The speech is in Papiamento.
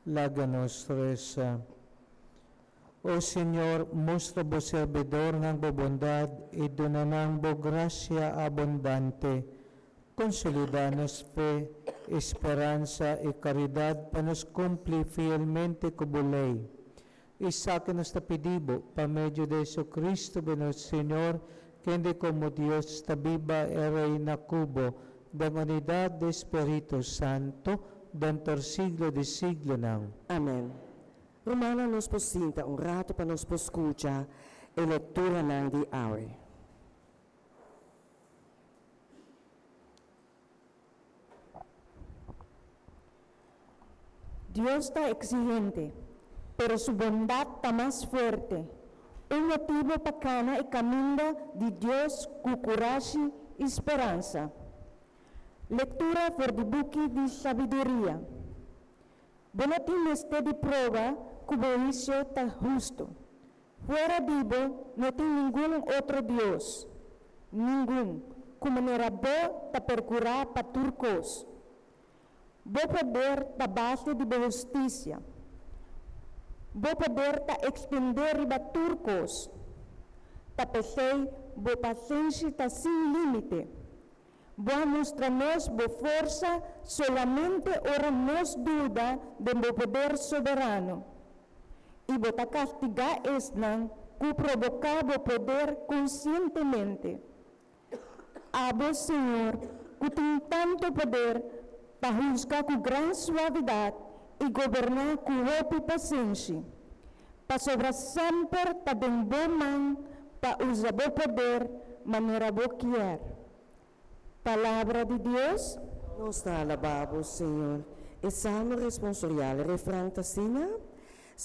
Laga nos resa. O Señor, mustra bo serbidornan bo bondad i duna nan bo gracia abundante. Consolida nos fe, speransa i caridad pa nos cumpli fielmente cu bo ley. Esaki nos ta pidi bo pa medio di Jesucristo bo nos Señor, kende como Dios ta biba i reina cu bo den unidad di Spirito Santo, den tur siglo di siglonan. Amen. Rumannan, nos por sinta un rato pa nos por scucha e lecturanan di awe. Dios ta exigente, pero su bondad ta mas fuerte. Un motibo pa cana e caminda di Dios cu curashi y speransa. Lectura for di buki di Sabiduria. Bo no tin mester di proba cu bo huicio ta husto. Fuera di bo no tin ningun otro Dios, ningun, cu manera bo ta percura pa tur cos. Bo poder ta base di bo husticia. Bo poder ta extende riba tur cos. Ta p'esey bo pasenshi ta sin limite. Bo a mustra nos bo forsa solamente ora nos duda den bo poder soberano. I bo ta kastigá esnan ku proboká bo poder konsientemente. Abo, Señor, ku tin tantu poder, ta husga ku gran suavidat i goberná ku hopi pasenshi, pasobra semper ta den bo man pa usa bo poder manera bo kier. Palabra di Dios. Nos ta alabá bo, Señor. E salmo responsorial, e refran ta asina.